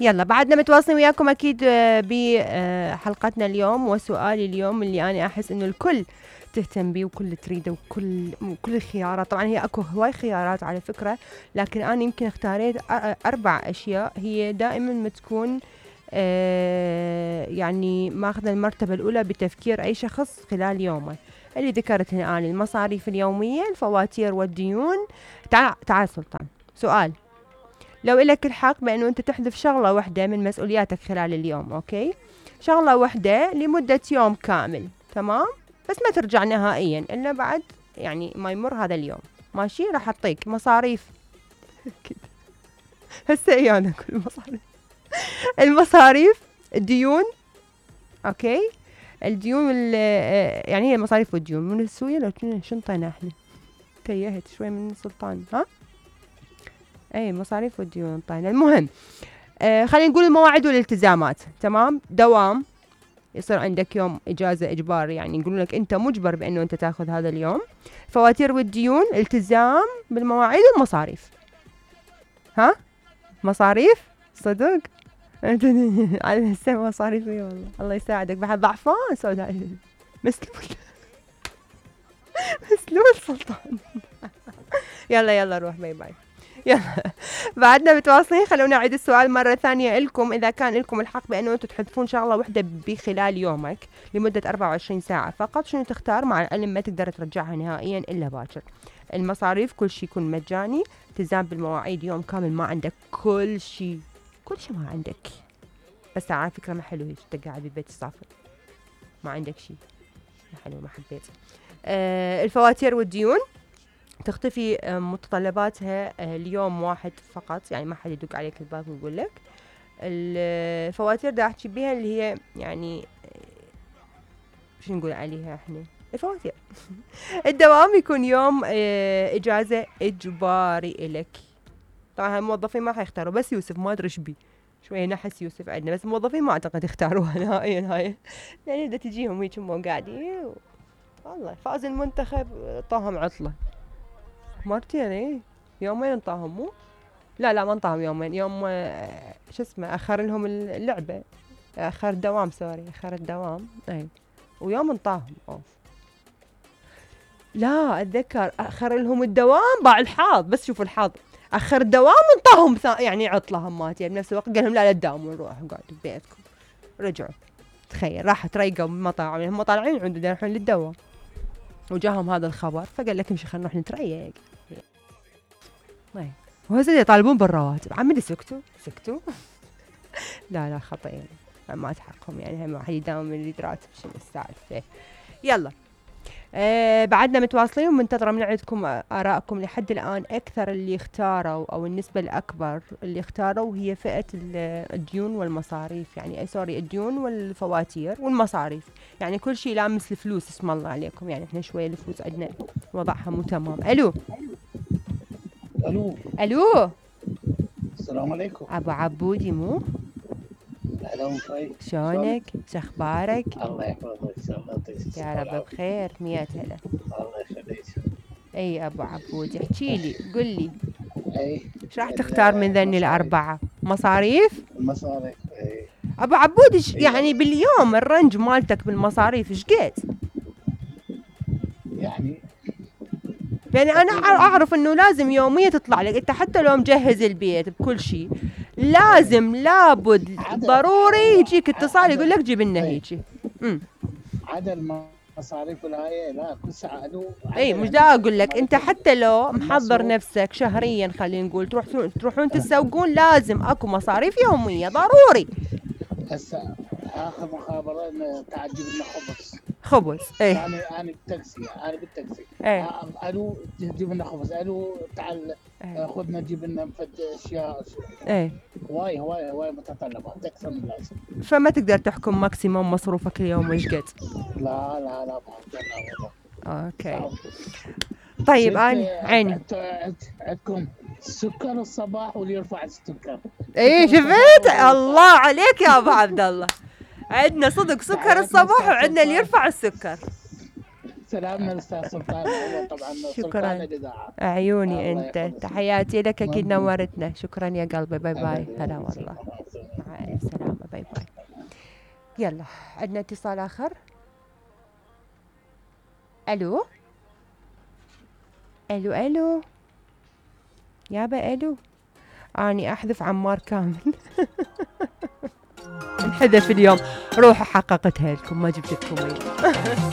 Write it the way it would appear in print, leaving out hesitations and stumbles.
يلا بعدنا متواصلين وياكم اكيد بحلقتنا اليوم، وسؤالي اليوم اللي انا احس انه الكل تهتم بيه وكل تريده وكل الخيارات. طبعا هي اكو هواي خيارات على فكرة، لكن انا يمكن اختاريت 4 اشياء هي دائما ما تكون يعني ماخذة المرتبة الاولى بتفكير اي شخص خلال يومه، اللي ذكرتها انا: المصاريف اليومية، الفواتير والديون. تعال سلطان، سؤال: لو إلك الحق بأنه أنت تحذف شغلة واحدة من مسؤولياتك خلال اليوم، أوكي؟ شغلة واحدة لمدة يوم كامل، تمام؟ بس ما ترجع نهائيا إلا بعد يعني ما يمر هذا اليوم، ماشي؟ راح أعطيك مصاريف هسه إيانا كل المصاريف المصاريف، الديون، أوكي؟ الديون يعني هي المصاريف والديون من السوية. لو شنطينا احنا تيهت شوي من سلطان، ها؟ اي مصاريف والديون طينا. المهم خلينا نقول المواعيد والالتزامات، تمام؟ دوام يصير عندك يوم اجازه اجباري، يعني يقولون لك انت مجبر بانه انت تاخذ هذا اليوم. فواتير والديون، التزام بالمواعيد والمصاريف. ها مصاريف صدق على السنة مصاريف والله الله يساعدك. بعد ضعفان سوداء مسلول مسلول سلطان يلا روح، باي باي. يلا بعدنا متواصلين. خلونا نعيد السؤال مرة ثانية لكم: إذا كان لكم الحق بأنه أنتم تحذفون شغلة واحدة بخلال يومك لمدة 24 ساعة فقط، شنو تختار؟ مع العلم ما تقدر ترجعها نهائيا إلا باكر. المصاريف كل شيء يكون مجاني، التزام بالمواعيد يوم كامل ما عندك كل شيء ما عندك. بس على فكرة ما حلو هيك تقعد ببيت الصافي ما عندك شيء، ما حلو، ما حبيت. الفواتير والديون تختفي متطلباتها اليوم واحد فقط، يعني ما حد يدق عليك الباب ويقول لك. الفواتير دا احكي بيها اللي هي يعني شو نقول عليها احنا الفواتير الدوام يكون يوم اجازة اجباري الك. طبعا الموظفين ما حيختاروا، بس يوسف ما ادري ايش بي شوية نحس يوسف عندنا، بس الموظفين ما اعتقد يختاروها نهائيا هاي، يعني بدها تجيهم هيك هم قاعدين والله فاز المنتخب طاهم عطلة مرتين. ايه يومين انطاهم، مو لا ما انطاهم يومين، يوم شو اسمه اخر لهم اللعبة، اخر الدوام، سوري اخر الدوام، اي ويوم انطاهم اوف. لا اتذكر اخر لهم الدوام باع الحظ، بس شوفوا الحظ اخر الدوام انطاهم يعني عطلة همات، يعني بنفس الوقت قال لهم لا تداوموا روحوا قعدوا ببيتكم. رجعوا تخيل راح تريقوا بمطاعم، هم طالعين عنده يروحون للدوام وجاهم هذا الخبر، فقال لك امشي خلينا نروح نتريق. وهسه يطالبون بالرواتب، عمي سكتوا لا خطأ يعني ما تحقهم، يعني هم واحد يداوم من يريد راتب شنو السالفة. يلا بعدنا متواصلين ومنتظرة من عندكم آراءكم. لحد الآن أكثر اللي اختاروا أو النسبة الأكبر اللي اختاروا هي فئة الديون والمصاريف، يعني سوري الديون والفواتير والمصاريف، يعني كل شيء لامس الفلوس. اسم الله عليكم، يعني احنا شوية الفلوس عندنا وضعها مو تمام. ألو السلام عليكم. أبو عبودي مو؟ أهلا وسهلا. شلونك؟ شخبارك؟ الله يحفظك إن شاء الله يا رب بخير. 100 هلا. الله يخليك. أي أبو عبودي احكيلي قولي أي ايش راح تختار من ذني ال4؟ مصاريف؟ المصاريف. أي أبو عبودي يعني باليوم الرنج مالتك بالمصاريف ايش قد؟ يعني أنا أعرف إنه لازم يومية تطلع لك أنت، حتى لو مجهز البيت بكل شيء لازم لابد ضروري يجيك اتصال يقول لك جيب لنا هيجي. عدد المصاريف والهاي لا كل ساعة له. اي مش دا اقول لك انت حتى لو محضر نفسك شهريا خلينا نقول تروحون تسوقون لازم اكو مصاريف يومية ضروري. هسه اخر مخابرة تعال جيب لنا خبز. اي انا بالتاكسي اي قالوا جيب لنا خبز، قالوا تعال خذنا جيب لنا مفد اشياء. اي هواي متطلبات اكثر من لازم، فما تقدر تحكم ماكسيموم مصروفك اليوم ايش قد. لا اوكي طيب انا عيني عندكم سكر الصباح واللي يرفع السكر. ايه شفت الله عليك يا ابو عبد الله، عندنا صدق سكر الصباح وعندنا اللي يرفع السكر. سلامنا الاستاذ سلطان. طبعا شكرا عيوني انت، تحياتي لك اكيد نورتنا. شكرا يا قلبي، باي باي. هلا والله. مع الف سلامه، باي باي. يلا عندنا اتصال اخر. الو الو الو يابا الو. اني احذف عمار كامل. انحذف اليوم، روحوا حققتها لكم، ما جبت لكم.